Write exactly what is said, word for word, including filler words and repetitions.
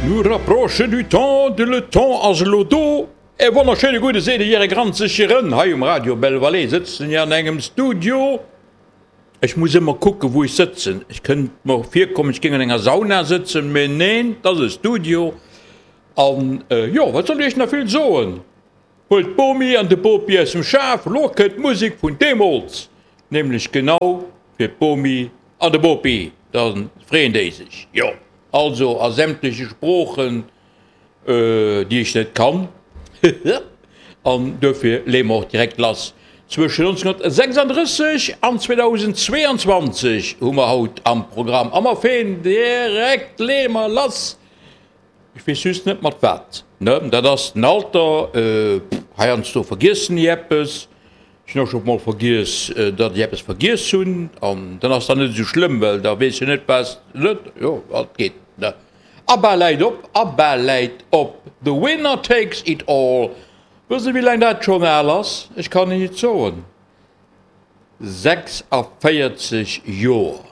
Nous rapproche du temps de le temps ass elo do. E wonnerschéine gudde seet Är Granzeg Hei um Radio Belval sëtzen ech an engem Studio. Ech muss ëmmer kucken, wou ech sëtzen. Ech kënnt mer virkommen, ech géing an enger Sauna sëtzen, mee neen, dat ass e Studio. An äh, jo, wat soll ech nach vill soen? Huelt d'Bomi an de Bopi aus dem Schaf, lo kënnt Musek vun deemools. Nämlech genau fir d'Bomi an de Bopi. Dann freeën déi sech. Jo, also a sämtleche Sproochen, äh, déi ech net kann. An dofir leeë mer och direkt lass. Zwëschen nonzénhunnertsechsandrësseg an zweedausendzweeanzwanzeg hu mer haut am Programm. A mer feen direkt, leeë mer lass. Ech weess just net mat wat. Ne, dat ass den Alter. Äh, heiansdo vergiessen ech eppes. Ech hunn och scho mol vergiess, datt ech eppes vergiess hunn. An dann ass dat net esou schlëmm, well da weess ech net, wat net, jo, wat geet, ne. ABBA läit op, ABBA läit op, The Winner Takes It All. Wësst Der, wéi laang dat schonn al ass? Ech kann Iech et soen, sechsavéierzeg Joer.